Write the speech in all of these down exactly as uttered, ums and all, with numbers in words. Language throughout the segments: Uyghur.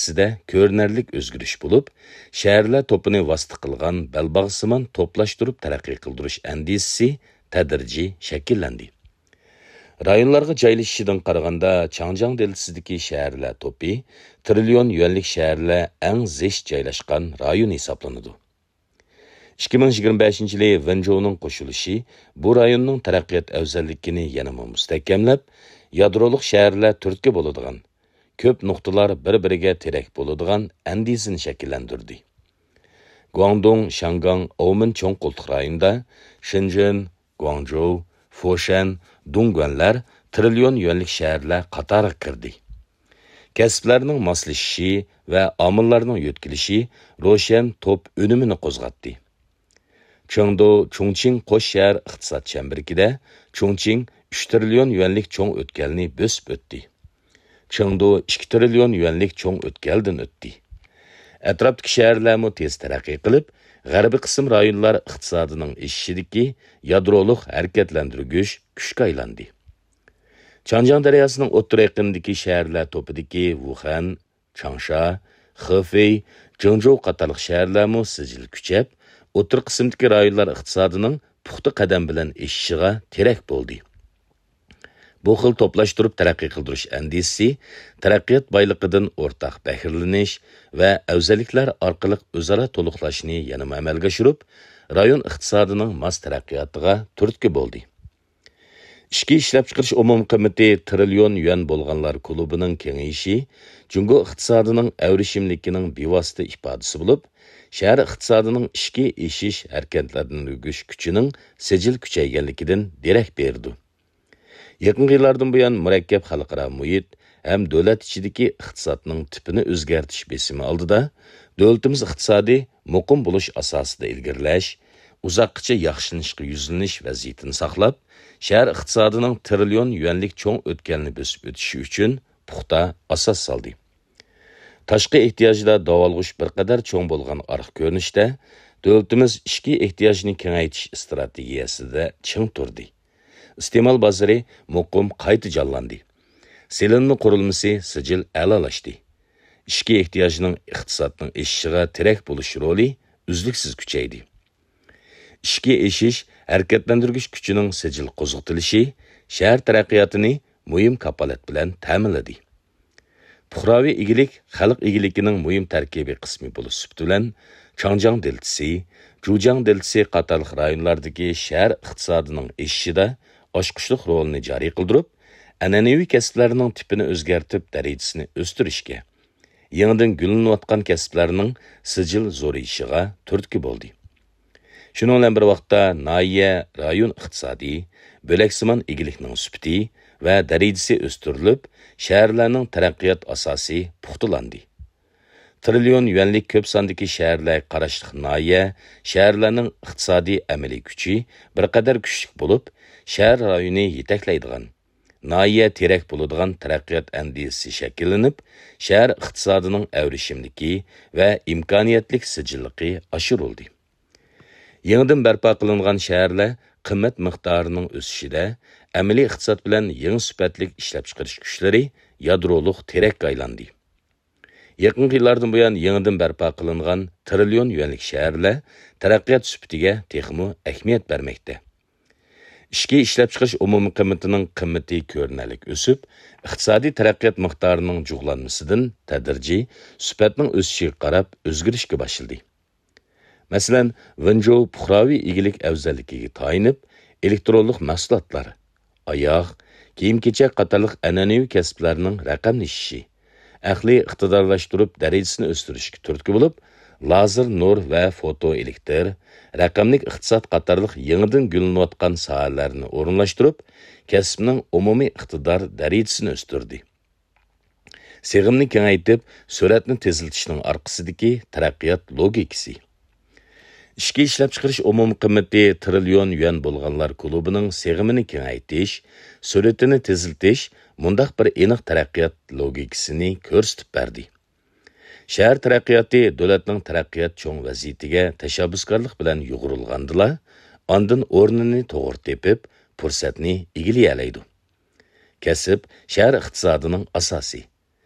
ئەندىزىسىدە كۆرۈنەرلىك ئۆزگىرىش بولۇپ، شەھەرلەر توپىنى ۋاسىتە قىلغان بەلباغسىمان توپلاشتۇرۇپ تەرەققىي قىلدۇرۇش ئەندىزىسى تەدرىجىي شەكىللەندى. رايونلارغا جايلىشىشىدىن قارىغاندا، چاڭجياڭ دېلتىسىدىكى شەھەرلەر توپى تىرىليون يۈەنلىك شەھەرلەر ئەڭ زىچ جايلاشقان رايون ھېسابلىنىدۇ. ئىككى مىڭ يىگىرمە بەشىنچى يىلى ۋېنجۇنىڭ قوشۇلۇشى بۇ رايوننىڭ تەرەققىيات ئەۋزەللىكىنى يەنىمۇ مۇستەھكەملەپ، يادرولۇق شەھەرلەر تۈرتكە بولىدىغان، كۆپ نۇقتىلار بىر-بىرىگە تىرەك بولىدىغان ئەندىزىنى شەكىللەندۈردى. گۇاڭدۇڭ، شياڭگاڭ، ئاۋمېن چوڭ قولتۇق رايونىدا شېنجېن، گۇاڭجۇ، فوشەن، دۇڭگۇەنلەر تىرىليون يۈەنلىك شەھەرلەر قاتارىغا كىردى. كەسىپلەرنىڭ ماسلىشىشى ۋە ئامىللارنىڭ يۆتكىلىشى روشەن توپ ئۈنۈمىنى قوزغاتتى. چېڭدۇ، چۇڭچىڭ قوش شەھەر ئىقتىساد چەمبىرىكىدە چۇڭچىڭ ئۈچ تىرىليون يۈەنلىك چوڭ ئۆتكەلنى بۆسۈپ ئۆتتى. چېڭدۇ ئىككى تىرىليون يۈەنلىك چوڭ ئۆتكەلدىن ئۆتتى. ئەتراپتىكى شەھەرلەرمۇ تېز تەرەققىي قىلىپ، غەربىي قىسىم رايونلار ئىقتىسادىنىڭ ئېشىشىدىكى يادرولۇق ھەرىكەتلەندۈرگۈچ كۈچكە ئايلاندى. چاڭجياڭ دەرياسىنىڭ ئوتتۇرا يېقىنىدىكى شەھەرلەر توپىدىكى ۋۇخەن، چاڭشا، خېفېي، جېڭجوۋ قاتارلىق شەھەرلەرمۇ سىجىل كۈچەپ، ئوتتۇرا قىسىمدىكى رايونلار ئىقتىسادىنىڭ پۇختا قەدەم بىلەن ئېشىشىغا تىرەك بولدى. بۇ خىل توپلاشتۇرۇپ تەرەققىي قىلدۇرۇش ئەندىزىسى تەرەققىيات بايلىقىدىن ئورتاق بەھرىلىنىش ۋە ئەۋزەللىكلەر ئارقىلىق ئۆزئارا تولۇقلاشنى يەنىمۇ ئەمەلگە ئاشۇرۇپ، رايون ئىقتىسادىنىڭ ماس تەرەققىياتىغا تۈرتكە بولدى. ئىچكى ئىشلەپچىقىرىش ئومۇمىي قىممىتى تىرىليون يۈەن بولغانلار كۇلۇبىنىڭ كېڭىيىشى جۇڭگو ئىقتىسادىنىڭ ئەۋرىشىملىكىنىڭ بىۋاسىتە ئىپادىسى بولۇپ، شەھەر ئىقتىسادىنىڭ ئىچكى ئېشىش ھەرىكەتلەندۈرگۈچ كۈچىنىڭ سىجىل كۈچەيگەنلىكىدىن دېرەك بېرىدۇ. يېقىنقى يىللاردىن بۇيان، مۇرەككەپ خەلقئارا مۇھىت ھەم دۆلەت ئىچىدىكى ئىقتىسادنىڭ تىپىنى ئۆزگەرتىش بېسىمى ئالدىدا، دۆلىتىمىز ئىقتىسادى مۇقىم بولۇش ئاساسىدا ئىلگىرىلەش، ئۇزاققىچە ياخشىلىنىشقا يۈزلىنىش ۋەزىيىتىنى ساقلاپ، شەھەر ئىقتىسادىنىڭ تىرىليون يۈەنلىك چوڭ ئۆتكەلنى بۆسۈپ ئۆتۈشى ئۈچۈن پۇختا ئاساس سالدى. تاشقى ئېھتىياجدا داۋالغۇش بىر قەدەر چوڭ بولغان ئارقا كۆرۈنۈشتە، دۆلىتىمىز ئىچكى ئېھتىياجنى كېڭەيتىش ئىستراتېگىيەسىدە چىڭ تۇردى. ئىستېمال بازىرى مۇقىم قايتا جانلاندى. سېلىنما قۇرۇلمىسى سىجىل ئەلالاشتى. ئىچكى ئېھتىياجنىڭ ئىقتىسادنىڭ ئېشىشىغا تىرەك بولۇش رولى ئۈزلۈكسىز كۈچەيدى. ئىچكى ئېشىش ھەرىكەتلەندۈرگۈچ كۈچىنىڭ سىجىل قوزغىتىلىشى شەھەر تەرەققىياتىنى مۇھىم كاپالەت بىلەن تەمىنلىدى. پۇقراۋى ئىگىلىك خەلق ئىگىلىكىنىڭ مۇھىم تەركىبىي قىسمى بولۇش سۈپىتى بىلەن، چاڭجياڭ دېلتىسى، جۇجياڭ دېلتىسى قاتارلىق رايونلاردىكى شەھەر ئىقتىسادىنىڭ ئېشىشىدا ئاچقۇچلۇق رولىنى جارى قىلدۇرۇپ، ئەنئەنىۋى كەسىپلەرنىڭ تىپىنى ئۆزگەرتىپ، دەرىجىسىنى ئۆستۈرۈشكە، يېڭىدىن گۈللىنىۋاتقان كەسىپلەرنىڭ سىجىل زورىيىشىغا تۈرتكە بولدى. شۇنىڭ بىلەن بىر ۋاقىتتا، ناھىيە، رايون ئىقتىسادى، بۆلەكسىمان ئىگىلىكنىڭ سۈپىتى ۋە دەرىجىسى ئۆستۈرۈلۈپ، شەھەرلەرنىڭ تەرەققىيات ئاساسى پۇختىلاندى. تىرىليون يۈەنلىك كۆپ ساندىكى شەھەرلەرگە قاراشلىق ناھىيە، شەھەرلەرنىڭ ئىقتىسادىي ئەمەلىي كۈچى بىر قەدەر كۈچلۈك بولۇپ، شەھەر رايونى يېتەكلەيدىغان، ناھىيە تىرەك بولىدىغان تەرەققىيات ئەندىزىسى شەكىللىنىپ، شەھەر ئىقتىسادىنىڭ ئەۋرىشىملىكى ۋە ئىمكانىيەتلىك سىجىللىقى ئاشۇرۇلدى. يېڭىدىن بەرپا قىلىنغان شەھەرلەر قىممەت مىقدارىنىڭ ئۆسۈشىدە، ئەمەلىي ئىقتىساد بىلەن يېڭى سۈپەتلىك ئىشلەپچىقىرىش كۈچلىرى يادرولۇق تىرەككە ئايلاندى. يېقىنقى يىللاردىن بۇيان، يېڭىدىن بەرپا قىلىنغان تىرىليون يۈەنلىك شەھەرلەر تەرەققىيات سۈپىتىگە تېخىمۇ ئەھمىيەت بەرمەكتە. ئىچكى ئىشلەپچىقىرىش ئومۇمىي قىممىتىنىڭ قىممىتى كۆرۈنەرلىك ئۆسۈپ، ئىقتىسادىي تەرەققىيات مىقدارىنىڭ جۇغلانمىسىدىن تەدرىجىي سۈپەتنىڭ ئۆسۈشىگە قاراپ ئۆزگىرىشكە باشلىدى. مەسىلەن، ۋېنجۇ پۇقراۋى ئىگىلىك ئەۋزەللىكىگە تايىنىپ، ئېلېكترونلۇق مەھسۇلاتلار، ئاياغ، كىيىم-كېچەك قاتارلىق ئەنئەنىۋى كەسىپلەرنىڭ رەقەملىشىشى، ئەقلىي ئىقتىدارلاشتۇرۇپ دەرىجىسىنى ئۆستۈرۈشكە تۈرتكە بولۇپ، لازېر نۇر ۋە فوتو ئېلېكتر، رەقەملىك ئىقتىساد قاتارلىق يېڭىدىن گۈللىنىۋاتقان ساھەلەرنى ئورۇنلاشتۇرۇپ، كەسىپنىڭ ئومۇمىي ئىقتىدار دەرىجىسىنى ئۆستۈردى. سىغىمنى كېڭەيتىپ، سۈرئەتنى تېزلىتىشنىڭ ئارقىسىدىكى تەرەققىيات لوگىكىسى. ئىچكى ئىشلەپچىقىرىش ئومۇمىي قىممىتى تىرىليون يۈەن بولغانلار كۇلۇبىنىڭ سىغىمىنى كېڭەيتىش، سۈرئىتىنى تېزلىتىش مۇنداق بىر ئېنىق تەرەققىيات لوگىكىسىنى كۆرسىتىپ بەردى. شەھەر تەرەققىياتى دۆلەتنىڭ تەرەققىيات چوڭ ۋەزىيىتىگە تەشەببۇسكارلىق بىلەن يۇغۇرۇلغاندىلا، ئاندىن ئورنىنى توغرا تېپىپ، پۇرسەتنى ئىگىلىيەلەيدۇ. كەسىپ شەھەر ئىقتىسادىنىڭ ئاساسى.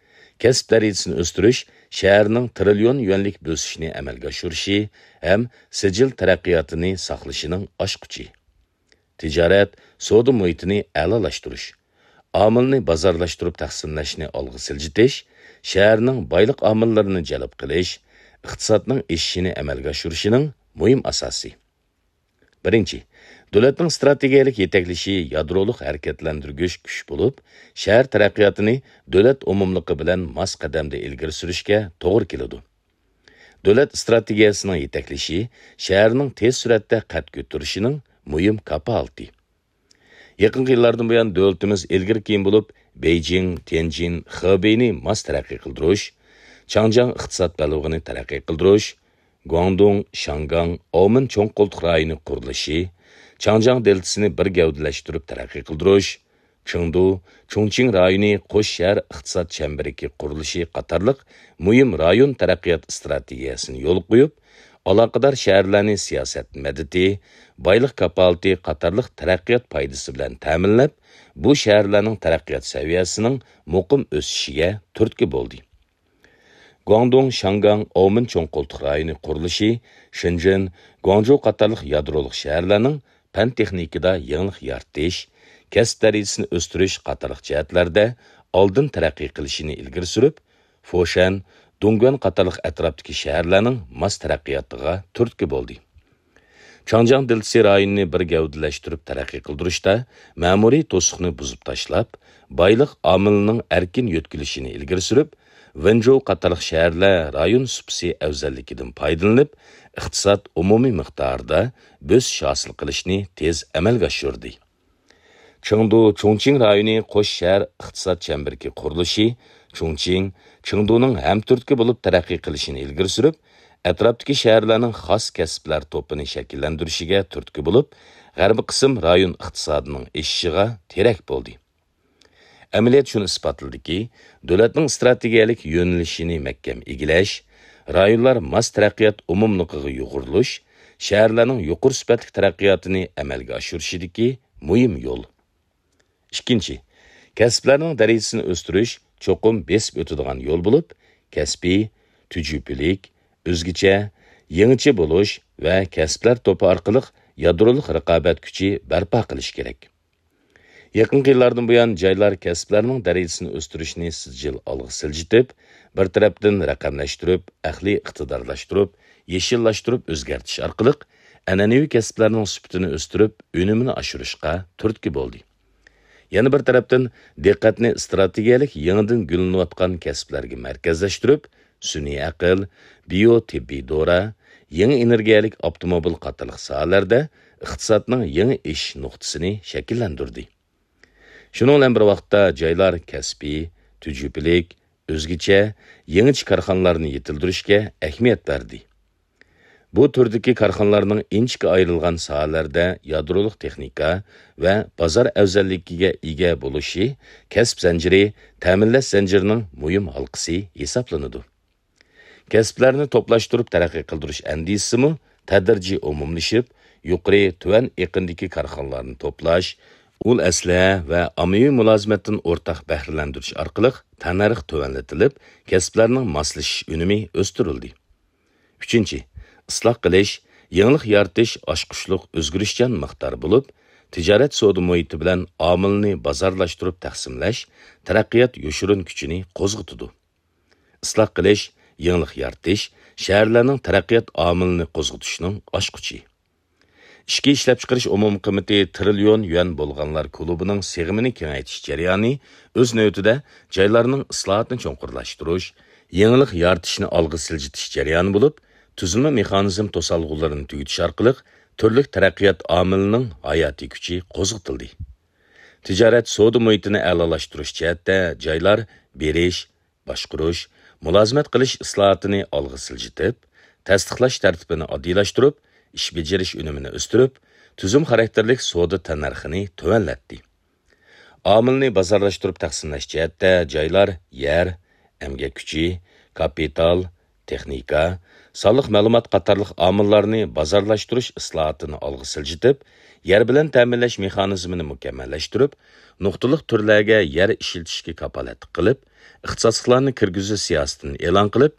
كەسىپ دەرىجىسىنى ئۆستۈرۈش شەھەرنىڭ تىرىليون يۈەنلىك بۆسۈشىنى ئەمەلگە ئاشۇرۇشى ھەم سىجىل تەرەققىياتىنى ساقلىشىنىڭ ئاچقۇچى. تىجارەت، سودا مۇھىتىنى ئەلالاشتۇرۇش، ئامىلنى بازارلاشتۇرۇپ تەقسىملەشنى ئالغا سىلجىتىش، شەھەرنىڭ بايلىق ئامىللىرىنى جەلپ قىلىش، ئىقتىسادنىڭ ئېشىشىنى ئەمەلگە ئاشۇرۇشنىڭ مۇھىم ئاساسى. بىرىنچى، دۆلەتنىڭ ئىستراتېگىيەلىك يېتەكلىشى يادرولۇق ھەرىكەتلەندۈرگۈچ كۈچ بولۇپ، شەھەر تەرەققىياتىنى دۆلەت ئومۇملۇقى بىلەن ماس قەدەمدە ئىلگىرى سۈرۈشكە توغرا كېلىدۇ. دۆلەت ئىستراتېگىيەسىنىڭ يېتەكلىشى شەھەرنىڭ تېز سۈرئەتتە قەد كۆتۈرۈشىنىڭ مۇھىم كاپالىتى. يېقىنقى يىللاردىن بۇيان، دۆلىتىمىز ئىلگىرى كېيىن بولۇپ، بېيجىڭ، تيەنجىن، خېبېينى ماس تەرەققىي قىلدۇرۇش، چاڭجياڭ ئىقتىساد بەلبېغىنى تەرەققىي قىلدۇرۇش، گۇاڭدۇڭ، شياڭگاڭ، ئاۋمېن چوڭ قولتۇق رايونى قۇرۇلۇشى، چاڭجياڭ دېلتىسىنى بىر گەۋدىلەشتۈرۈپ تەرەققىي قىلدۇرۇش، چېڭدۇ، چۇڭچىڭ رايونى قوش شەھەر ئىقتىساد چەمبىرىكى قۇرۇلۇشى قاتارلىق مۇھىم رايون تەرەققىيات ئىستراتېگىيەسىنى يولغا قويۇپ، ئالاقىدار شەھەرلەرنى سىياسەت مەدىتى، بايلىق كاپالىتى قاتارلىق تەرەققىيات پايدىسى بىلەن تەمىنلەپ، بۇ شەھەرلەرنىڭ تەرەققىيات سەۋىيەسىنىڭ مۇقىم ئۆسۈشىگە تۈرتكە بولدى. گۇاڭدۇڭ، شياڭگاڭ، ئاۋمېن چوڭ قولتۇق رايونى قۇرۇلۇشى، شېنجېن، گۇاڭجۇ قاتارلىق يادرولۇق شەھەرلەرنىڭ پەن-تېخنىكىدا يېڭىلىق يارىتىش، كەسىپ دەرىجىسىنى ئۆستۈرۈش قاتارلىق جەھەتلەردە ئالدىن تەرەققىي قىلىشىنى ئىلگىرى سۈرۈپ، فوشەن، دۇڭگۇەن قاتارلىق ئەتراپتىكى شەھەرلەرنىڭ ماس تەرەققىياتىغا تۈرتكە بولدى. چاڭجياڭ دېلتىسى رايونىنى بىر گەۋدىلەشتۈرۈپ تەرەققىي قىلدۇرۇشتا مەمۇرىي توسۇقنى بۇزۇپ تاشلاپ، بايلىق ئامىلىنىڭ ئەركىن يۆتكىلىشىنى ئىلگىرى سۈرۈپ، ۋېنجوۋ قاتارلىق شەھەرلەر رايون سۇپىسى ئەۋزەللىكىدىن پايدىلىنىپ، ئىقتىساد ئومۇمىي مىقدارىدا بۆسۈش ھاسىل قىلىشنى تېز ئەمەلگە ئاشۇردى. چېڭدۇ، چۇڭچىڭ رايونى قوش شەھەر ئىقتىساد چەمبىرىكى قۇرۇلۇشى، چۇڭچىڭ، چېڭدۇنىڭ ھەمتۈرتكە بولۇپ تەرەققىي قىلىشىنى ئىلگىرى سۈرۈپ، ئەتراپتىكى شەھەرلەرنىڭ خاس كەسىپلەر توپىنى شەكىللەندۈرۈشىگە تۈرتكە بولۇپ، غەربىي قىسىم رايون ئىقتىسادىنىڭ ئېشىشىغا تىرەك بولدى. ئەمەلىيەت شۇنى ئىسپاتلىدىكى، دۆلەتنىڭ ئىستراتېگىيەلىك يۆنىلىشىنى مەھكەم ئىگىلەش، رايونلار ماس تەرەققىيات ئومۇملۇقىغا يۇغۇرۇلۇش، شەھەرلەرنىڭ يۇقىرى سۈپەتلىك تەرەققىياتىنى ئەمەلگە ئاشۇرۇشىدىكى مۇھىم يول. ئىككىنچى، كەسىپلەرنىڭ دەرىجىسىنى ئۆستۈرۈش چوقۇم بېسىپ ئۆتىدىغان يول بولۇپ، كەسپىي، تۈجۈپىلىك، ئۆزگىچە، يېڭىچە بولۇش ۋە كەسىپلەر توپى ئارقىلىق يادرولۇق رىقابەت كۈچى بەرپا قىلىش كېرەك. يېقىنقى يىللاردىن بۇيان، جايلار كەسىپلەرنىڭ دەرىجىسىنى ئۆستۈرۈشنى سىجىل ئالغا سىلجىتىپ، بىر تەرەپتىن رەقەملەشتۈرۈپ، ئەقلىي ئىقتىدارلاشتۇرۇپ، يېشىللاشتۇرۇپ ئۆزگەرتىش ئارقىلىق ئەنئەنىۋى كەسىپلەرنىڭ سۈپىتىنى ئۆستۈرۈپ، ئۈنۈمىنى ئاشۇرۇشقا تۈرتكە بولدى. يەنە بىر تەرەپتىن، دىققەتنى ئىستراتېگىيەلىك يېڭىدىن گۈللىنىۋاتقان كەسىپلەرگە مەركەزلەشتۈرۈپ، سۈنئىي ئەقىل، بىيو تېببىي دورا، يېڭى ئېنېرگىيەلىك ئاپتوموبىل قاتارلىق ساھەلەردە ئىقتىسادنىڭ يېڭى ئېشىش نۇقتىسىنى شەكىللەندۈردى. شۇنىڭ بىلەن بىر ۋاقىتتا، جايلار كەسپىي، تۈجۈپىلىك، ئۆزگىچە، يېڭىچە كارخانىلارنى يېتىلدۈرۈشكە ئەھمىيەت بەردى. بۇ تۈردىكى كارخانىلارنىڭ ئىنچىكە ئايرىلغان ساھەلەردە يادرولۇق تېخنىكا ۋە بازار ئەۋزەللىكىگە ئىگە بولۇشى كەسىپ زەنجىرى، تەمىنلەش زەنجىرىنىڭ مۇھىم ھالقىسى ھېسابلىنىدۇ. كەسىپلەرنى توپلاشتۇرۇپ تەرەققىي قىلدۇرۇش ئەندىزىسىمۇ تەدرىجىي ئومۇملىشىپ، يۇقىرى، تۆۋەن ئېقىندىكى كارخانىلارنى توپلاش، ئۇل ئەسلىھە ۋە ئاممىۋى مۇلازىمەتتىن ئورتاق بەھرىلەندۈرۈش ئارقىلىق تەننەرخ تۆۋەنلىتىلىپ، كەسىپلەرنىڭ ماسلىشىش ئۈنۈمى ئۆستۈرۈلدى. ئۈچىنچى، ئىسلاھ قىلىش، يېڭىلىق يارىتىش ئاچقۇچلۇق ئۆزگىرىشچان مىقدار بولۇپ، تىجارەت سودا مۇھىتى بىلەن ئامىلنى بازارلاشتۇرۇپ تەقسىملەش تەرەققىيات يوشۇرۇن كۈچىنى قوزغىتىدۇ. ئىسلاھ قىلىش، يېڭىلىق يارىتىش شەھەرلەرنىڭ تەرەققىيات ئامىلىنى قوزغىتىشنىڭ ئاچقۇچى. ئىچكى ئىشلەپچىقىرىش ئومۇمىي قىممىتى تىرىليون يۈەن بولغانلار كۇلۇبىنىڭ سىغىمىنى كېڭەيتىش جەريانى ئۆز نۆۋىتىدە جايلارنىڭ ئىسلاھاتنى چوڭقۇرلاشتۇرۇش، يېڭىلىق يارىتىشنى ئالغا سىلجىتىش جەريانى بولۇپ، تۈزۈلمە مېخانىزم توسالغۇلىرىنى تۈگىتىش ئارقىلىق تۈرلۈك تەرەققىيات ئامىلىنىڭ ھاياتىي كۈچى قوزغىتىلدى. تىجارەت سودا مۇھىتىنى ئەلالاشتۇرۇش جەھەتتە جايلار بېرىش، باشقۇرۇش، مۇلازىمەت قىلىش ئىسلاھاتىنى ئالغا سىلجىتىپ، تەستىقلاش تەرتىپىنى ئاددىيلاشتۇرۇپ، ئىش بېجىرىش ئۈنۈمىنى ئۆستۈرۈپ، تۈزۈم خاراكتېرلىك سودا تەننەرخىنى تۆۋەنلەتتى. ئامىلنى بازارلاشتۇرۇپ تەقسىملەش جەھەتتە جايلار يەر، ئەمگەك كۈچى، كاپىتال، تېخنىكا، سانلىق مەلۇمات قاتارلىق ئامىللارنى بازارلاشتۇرۇش ئىسلاھاتىنى ئالغا سىلجىتىپ، يەر بىلەن تەمىنلەش مېخانىزمىنى مۇكەممەللەشتۈرۈپ، نۇقتىلىق تۈرلەرگە يەر ئىشلىتىشكە كاپالەتلىك قىلىپ، ئىختىساسلىقلارنى كىرگۈزۈش سىياسىتىنى ئېلان قىلىپ،